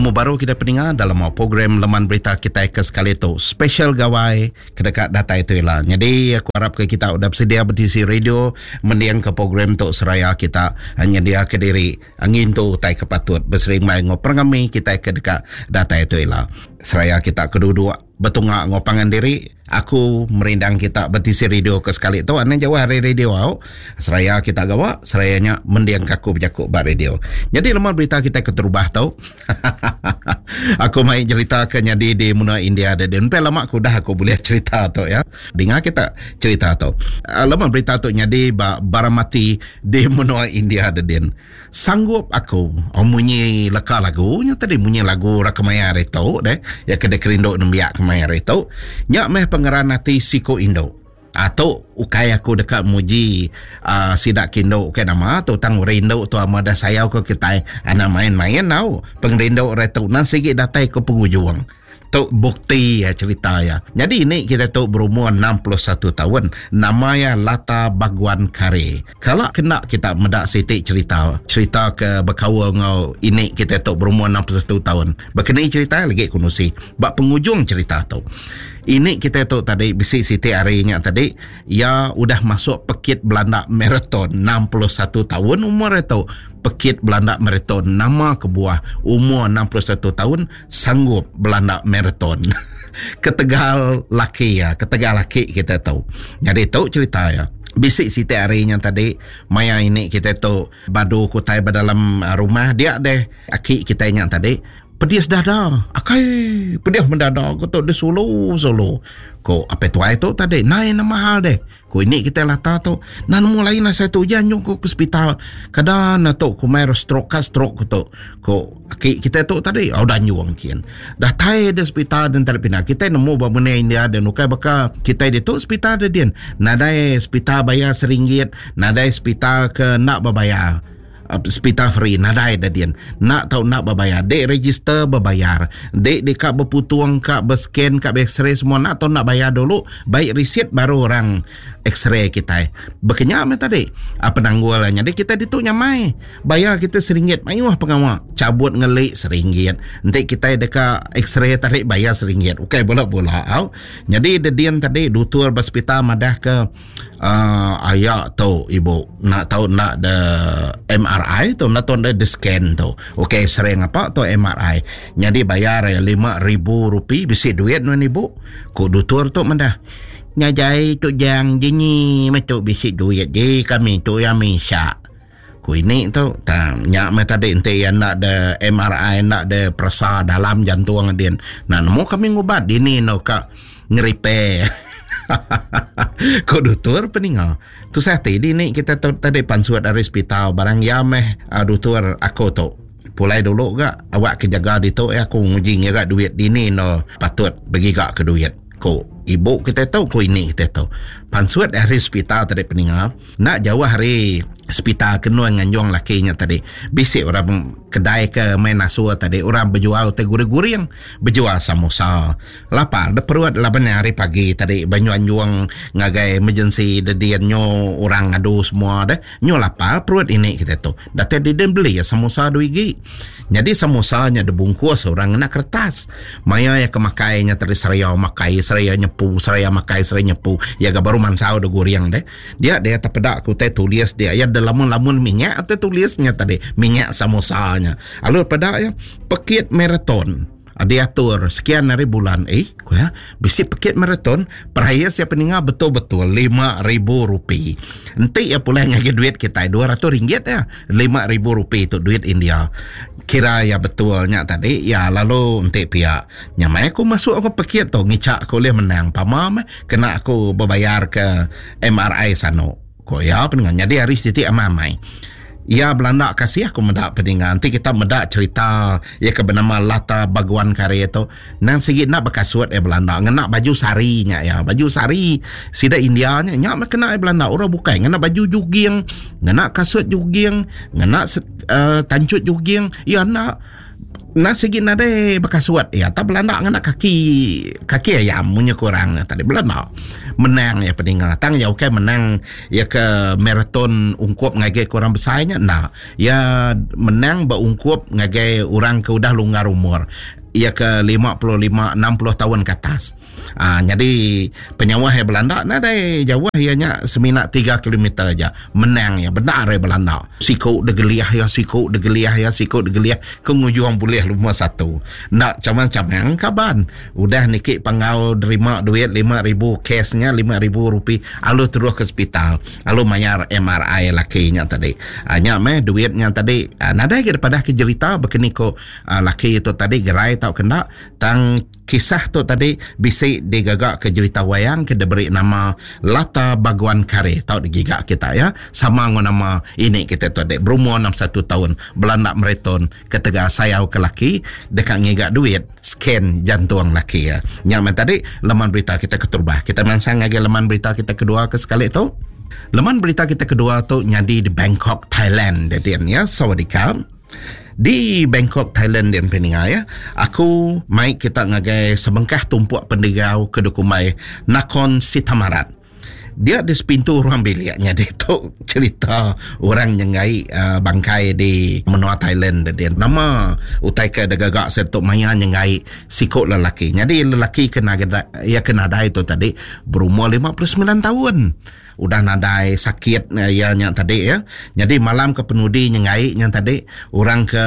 Betemu baru kita peninga dalam program Leman Berita kitai ke sekali tu. Special Gawai ke deka datai tu ila. Nyadi aku arap ke kita udah bersedia betisi radio mending ke program tu seraya kita nyedia ke diri ngintu utai ke patut beserimbai enggau pengerami kitai ke deka datai tu ila. Seraya kita ke duduk betunga enggau pangan diri, aku merindang kita betisi radio ke sekali tu anang jauh ari radio au. Seraya kita gawa, seraya nya mending ke aku bejaku ba radio. Nyadi leman berita kita keterubah tu aku mai cerita ke nyadi di menua India deh. Empai lama aku udah aku bulih cerita tu ya. Dinga kita cerita tu. Leman berita tu nyadi ba Baramati di menua India dedin. Sanggup aku oh, munyi leka lagu nya tadi munyi lagu orang kemaya hari tu deh ya ke dikerindu nembiak kemaya hari tu. Nya meh pengeran ati siku indu. Ah tu ukai aku deka muji uh, sida ke indu ke nama tu tang orang indu tu ama dah sayau ke kitai anak main-main tau. Pengerindu orang tu nang sigi datai ke pengujung. Tu bukti ya cerita ya. Jadi ini kita tu berumur 61 tahun. Nama ya Lata Bagwan Kare. Kalau kena kita meda siti cerita, cerita ke berkaul ngau ini kita tu berumur 61 tahun. Berkeni cerita lagi ku nusi. Ba pengujung cerita tu. Ini kita tu tadi bisi siti hari nya tadi ya udah masuk pekit Belanda marathon 61 tahun umur itu. Pekit Belanda marathon nama kebuah umur 61 tahun sanggup belanda marathon ketegal laki iya ketegal laki kita tu jadi tu cerita iya bisi siti hari nya tadi maya ini kita tu badu kutai ba dalam ah, rumah dia deh aki kita nya tadi pedis dada akai pedih mendada ko tu disulu sulu ko apai tuai tu tadi nai nama hal deh Ku ini kitai lata tu, nah nemu lain asai tu ujan nyung ku ke hospital. Kada na tu ku mai stroke ka stroke ku tu. Ku aki kitai tu tadi au dah nyung kin. Datai di hospital den tadi pindah. Kitai nemu ba menua India den ukai baka kitai ditu hospital de din. Nadai hospital bayar seringgit, nadai hospital ke enda bebayar. Hospital free nadai da din. Enda tau enda bebayar. Dek register bebayar. Dek deka beputung ka bescan ka x-ray semua enda tau enda bayar dulu. Baik risit baru orang x-ray kitai. Bekenya meh tadi. Penanggul nyadi kitai ditu nyamai. Bayar kitai seringgit mayuh pengawa. Cabut ngeli seringgit. Enti kitai deka x-ray tadi bayar seringgit. Ukai bula-bula au. Nyadi da din tadi dutur ba hospital madah ke Uh, aya tu ibu nak tahu nak de MRI tu nak tahu de scan tu. Okey sering apa tu MRI. Jadi bayar ya 5000 rupi bisi duit nuan ibu. Ku dutur tu mendah. Nyajai tu jang jinyi meh tu bisi duit ji kami tu ya misha. Ku ini tu tang nya meh tadi enti ya nak de MRI nak de peresa dalam jantung din. Nak nemu kami ngubat dini no ka ngerepair. Ku dutur peninga. Tusah ti dini kita tu tadi pansut ari hospital barang iya meh uh, dutur aku tu. Pulai dulu ga awak ke jaga ditu ya aku nguji ngira duit dini no patut begiga ke duit. Ku ibu kita tu ku ini kita tu. Pansut ari hospital tadi peninga. Enda jauh ari sepital ke endur nganjung laki nya tadi, bisi orang kedai ke main asur tadi orang bejual utai guring-guring, bejual samosa. Lapar dep perut laban nya hari pagi tadi ba nganjung ngagai emergency dedin nyu orang ngadu semua deh. Nyu lapar perut ini kitai tu. Datai didin beli iya samosa dua igi. Nyadi samosa nya dibungkus orang ngena kertas. Maya iya ke makai nya tadi seraya makai seraya nyepu seraya makai seraya nyepu iya ga baru mansau da guring deh. Dia dia tepeda ke utai tulis dia iya da lamun-lamun minyak utai tulis nya tadi minyak samosa nya. Lalu peda iya pekit marathon diatur sekian hari bulan eh ku iya bisi pekit marathon perais iya peninga betul-betul 5000 rupee. Enti iya pulai ngagai duit kitai 200 ringgit iya 5000 rupee tu duit India. Kira iya betul nya tadi iya lalu enti pia nya mai aku masuk aku pekit tu ngicha aku ulih menang pama meh Kena aku bebayar ke MRI sanu. Ko iya peninga. Nyadi hari siti amai-amai. Iya belanda kasih aku meda peninga. Enti kita meda cerita iya ke benama Lata Baguan Kare tu, nang sigi enda bekasut iya belanda. Ngena baju sari nya iya. Baju sari sida India nya, nya meh kena iya belanda. Orang bukai ngena baju juging, ngena kasut juging, ngena uh, tancut juging. Iya enda. Nah sigi nadai bekasut iya tak belanda ngena kaki kaki ayam munyi ku orang nya tadi belanda menang iya peninga tang iya ukai menang iya ke marathon ungkup ngagai ke orang besai nya enda iya menang ba ungkup ngagai orang ke udah longgar umur iya ke 55 60 taun ke atas. Aa nyadi penyauh iya belanda nadai jauh iya nya semina tiga kilometer aja menang iya bendar iya belanda. Siku degelih iya siku degelih iya siku degelih ke ngujung bulih lumur satu. Enda chamang-chamang kaban udah niki panggau nerima duit 5000 cash nya 5000 rupee alu terus ke sepital alu mayar MRI laki nya tadi. Aa nya meh duit nya tadi nadai ga dipadah ke jerita bekeni ko laki tu tadi gerai tauka enda tang Kisah tu tadi bisi digaga ke jerita wayang ke diberi nama Lata Baguan Kare tau digiga kita ya. Sama enggau nama ini kita tu tadi berumur 61 taun belanda marathon ketegal sayau ke laki deka ngiga duit scan jantung laki iya. Nya meh tadi leman berita kita keterubah. Kita mansang ngagai leman berita kita kedua ke sekali tu. Leman berita kita kedua tu nyadi di Bangkok, Thailand dia ya. Sawadika. Di Bangkok, Thailand dian peninga ya. Aku mai kita ngagai sebengkah tumpuk pendigau ke dikumbai Nakhon Sithamarat. Dia di sepintu ruang bilik nyadi tu cerita orang nyenggai uh, bangkai di menua Thailand dia. Nama utai ke digaga sida tu maya nyenggai siku lelaki. Nyadi lelaki ke naga iya ke nadai tu tadi berumur 59 tahun. Udah nadai sakit iya nya tadi ya. Nyadi malam ke penudi nyengai nya tadi orang ke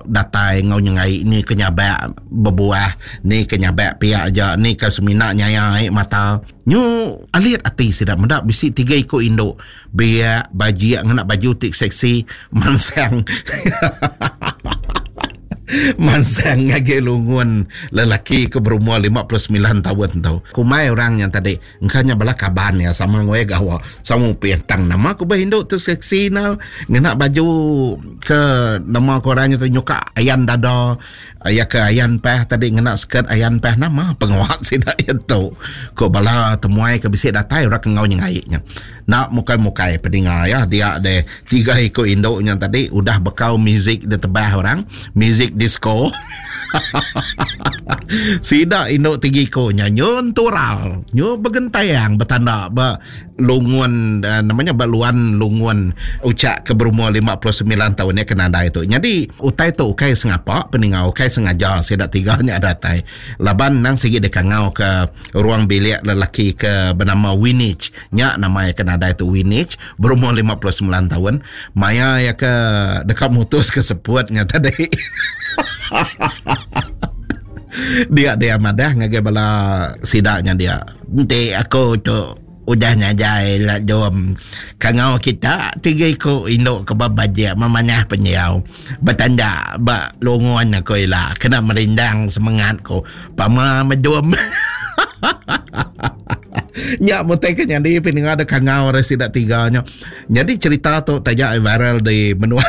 datai enggau nyengai ni ke nyabak bebuah ni ke nyabak pia aja ni ke semina nyaya ai mata. Nyu alit ati sida meda bisi tiga iku indu biak bajik ngena baju ti seksi mansang Mansang ngagai lungun lelaki ke berumur 59 taun tu. Kumbai orang nya tadi Engka nya bala kaban iya sama enggau iya gawa sama upih tang nama ku bah indu tu seksi nal ngena baju ke nama ku orang nya tu nyuka ayan dada iya ke ayan pah tadi ngena skirt ayan pah nama pengawa sida iya tu ku bala temuai ke bisi datai orang ke enggau nyengai nya. Enda mukai-mukai peninga iya dia deh tiga iku indu nya tadi udah bekau muzik ditebah orang muzik disco. Sida indu tiga iku nya nyun tural, nyu begentayang betanda ba lungun eh, namanya ba luan lungun ucak ke berumur 59 taun nya ke nadai tu. Nyadi utai tu ukai sengapa peninga ukai sengaja sida tiga nya datai. Laban nang sigi dikangau ke ruang bilik lelaki ke benama Winich nya nama iya ke nadai tu Winich berumur 59 taun maya iya ke deka mutus ke seput nya tadi. Dia dia madah ngagai bala sida nya dia. Enti aku tu udah nyajai la jom kangau kita tiga iku indu ke bebajik memanah pendiau betanda ba lungun aku ila kena merindang semengat ku pama mejum. Nya mutai ke nyadi pendengar da kangau ari sida tiga nya. Nyadi cerita tu taja viral di menua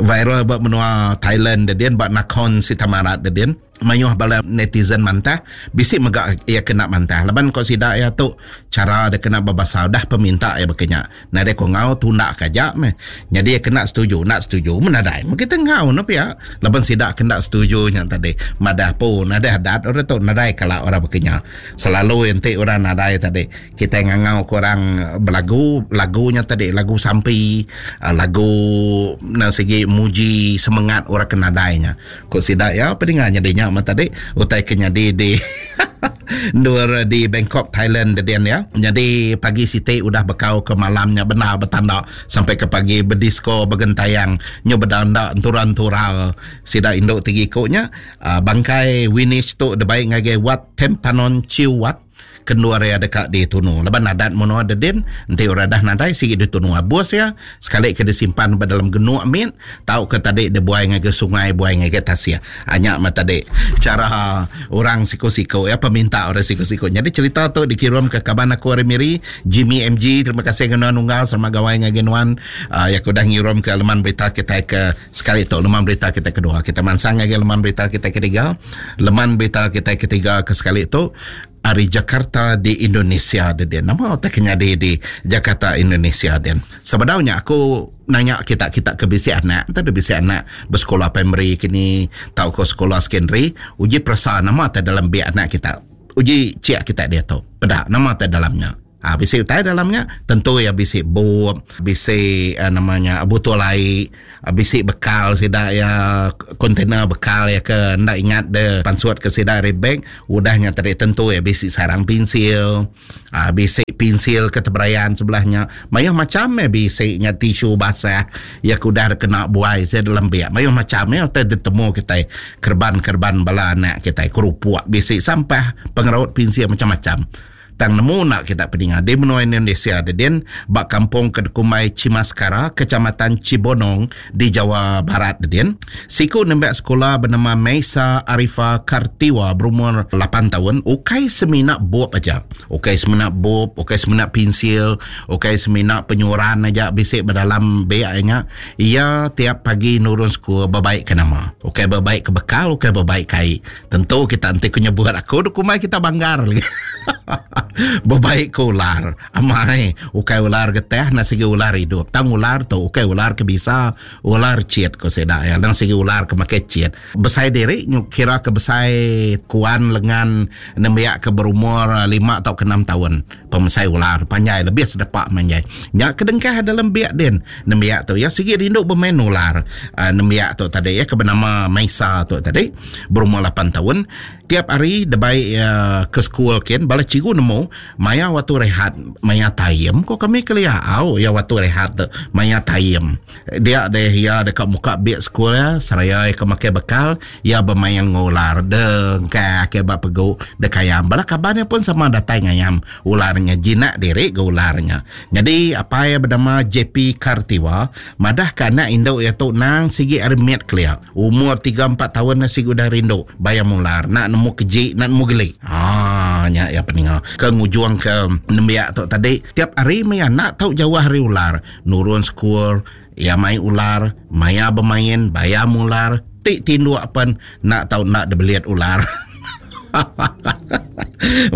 viral ba menua Thailand dedin ba Nakhon Sithamarat dedin. Mayuh bala netizen mantah bisi mega iya kena mantah laban ko sida iya tu chara deka kena bebasa udah peminta iya baka nya. Nadai ko enggau tunda ka aja meh. Nyadi iya kena setuju enda setuju meh nadai meh kita enggau ne pia laban sida ke enda setuju nya tadi madah pu nadai adat orang tu nadai kala orang baka nya. Selalu enti orang nadai tadi kitai ngangau ke orang belagu lagu nya tadi lagu sampi lagu nang sigi muji semengat orang ke nadai nya. Ku sida iya pedinga nyadi nya meh tadi utai ke nyadi di endur di Bangkok Thailand dedin iya. Nyadi pagi siti udah bekau ke malam nya bendar betanda sampai ke pagi bedisko begentayang nyu bedanda entura-entura sida indu tiga iku nya. Bangkai Winich tu dibai ngagai Wat Tempanon Chiu Wat. Kendur iya deka ditunu laban adat menua dedin enti orang dah nadai sigi ditunu abus iya sekali ke disimpan ba dalam genuk mit tauka tadi dibuai ngagai sungai buai ngagai tasik. Ah nya meh tadi chara orang siku-siku iya peminta orang siku-siku. Nyadi cherita tu dikirum ke kaban aku ari Miri Jimmy MG terima kasih ngagai nuan unggal selamat gawai ngagai nuan ah iya ke udah ngirum ke leman berita kitai ke sekali tu leman berita kitai kedua. Kita mansang ngagai leman berita kitai ketiga. Leman berita kitai ketiga ke sekali tu ari Jakarta. Jakarta di Indonesia din. Nama utai ke nyadi di Jakarta Indonesia din? Sebedau nya aku nanya kita kita ke bisi anak enta deh bisi anak besekula primary kini tauka sekula secondary uji peresa nama utai dalam beg anak kita. Uji chek kita diatu peda nama utai dalam nya. Ha, bisi utai dalam nya tentu iya bisi bup, bisi uh, nama nya botol ai, uh, bisi bekal sida iya container bekal iya ke enda ingat de pansut ke sida ari beg, udah nya tadi tentu iya bisi sarang pensil, uh, bisi pensil ke teberayan sebelah nya. Mayuh macam meh bisi nya tisu basah iya ke udah kena buai sida dalam beg. Mayuh macam meh utai ditemu kitai kereban-kereban bala anak kitai kerupuk bisi sampah pengeraut pensil macam-macam. Tang nemu enda kita peninga di menua Indonesia dedin ba kampung ke dikumbai Cimaskara, Kecamatan Cibonong di Jawa Barat dedin. Siku nembiak sekula benama Meisa Arifa Kartiwa berumur lapan taun ukai semina bup aja. Ukai semina bup, ukai semina pinsil, ukai semina penyuran aja bisi ba dalam beg nya. Iya tiap pagi nurun sekul bebaik ke nama. Ukai bebaik ke bekal, ukai bebaik ke ai. Tentu kita enti ku nyebut aku kumbai kita banggar lagi. Bebaik ke ular. Amai ukai ular getah enda sigi ular idup. Tang ular tu ukai ular ke bisa, ular chit ko sida iya. Endang sigi ular ke makai chit. Besai diri nyu kira ke besai kuan lengan nembiak ke berumur lima tauka enam taun. Pemesai ular panjai lebih sedepa manjai. Nya ke dengkah dalam biak din. Nembiak tu iya sigi rindu bemain ular. Nembiak tu tadi iya ke benama Maisa tu tadi. Berumur lapan taun, tiap hari debai iya ke sekul kin bala cikgu nemu maya waktu rehat maya taim ko kami kelia au iya waktu rehat tu maya taim. Dia deh iya deka muka beg sekul iya seraya iya ke makai bekal iya bemain enggau ular dengkah ke ba pegu dek ayam. Bala kaban iya pun sama datai ngayam ular nya jinak diri ga ular nya. Nyadi apai iya benama JP Kartiwa madah ka anak indu iya tu nang sigi ari mit kelia. Umur tiga empat taun nya sigi udah rindu bayam ular enda nemu keji enda nemu geli. Haa nya iya peninga ke ngujung ke nembiak tu tadi tiap hari meh iya enda tau jauh ari ular. Nurun sekul iya mai ular, maya bemain bayam ular, ti tinduk pen enda tau enda dibelit ular.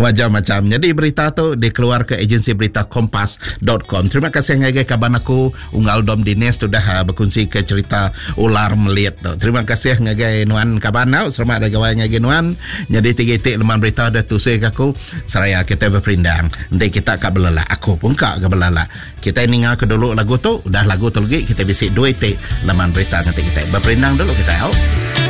Macam-macam. Jadi berita tu dikeluarka agensi berita kompas.com. Terima kasih ngagai kaban aku Unggal Dom Dinis tu dah ah, berkongsi ke cerita ular melit tu. Terima kasih ngagai nuan kaban tau. Selamat hari gawai ngagai nuan. Jadi tiga itik leman berita dah tusui ke aku. Seraya kita berperindang. Enti kita ka belelak, aku pun ka ke belelak. Kita ninga ke dulu lagu tu, udah lagu tu lagi kita bisi dua itik leman berita nganti kita. Berperindang dulu kita au.